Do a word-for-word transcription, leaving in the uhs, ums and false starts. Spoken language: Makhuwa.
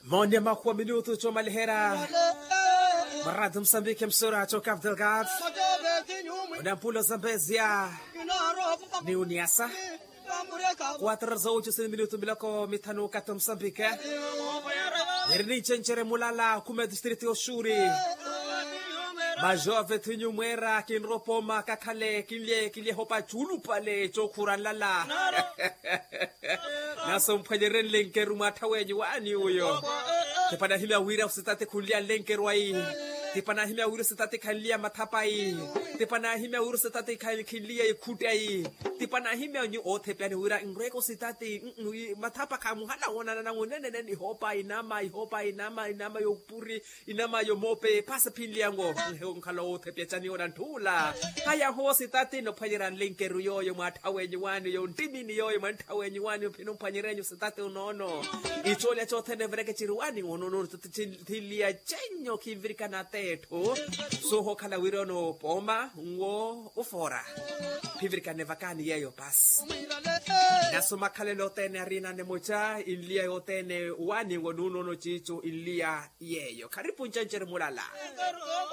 Maoni ya makhuwa minutu coomaliherya. Marato musambike msura coka abdelgad. Onampulo zambezia ni uniasa. Kuatro za ucu sini minutu miloko mithanu kati musambike. Eri ni cencerye mulala kumi ya distrito yoxuri. Majove thinyu mwera kinropoma kakhale kinlye kinlye hopa culupale cokhura nlala. Naso mphwanyerye nlenkeru mwattha wenyu waani uyo. Tipa nahimya wira ositati khunliya nlenkeru ayi. Tipa nahimya wira ositati khanliya mathapa ayi. Tipa nahimya wira ositati khanliya ikhutti ayi. Tipa nahimya nyu oothepyani wira nrweke ositati. Mathapa khamuhala woonanana ngunenene nihopa inama ihopa inama inama yopuri. Inama yomoope paasi phinliyango. Nkhala oothepya cani ora ntthuula. Haya howo sitati nophwanyerya nlenkeru yooyo mwaattha wenyu waani oyo nttimini yooyo mwanttha wenyu waani ophini omphwanyerenyu sitati onoono. Icoolya coothene evireke ciri waani onoono. Thinliya cenyo khivirikana tetthu. Suuhokhala wira onoopooma nwo ofoora. Phivirikane vakaani yeeyo paasi. Naso makhalelo othene ariinane muca inliya yothene waani nwo nuunono ciicu inliya yeeyo kharipu ncencerye mulala.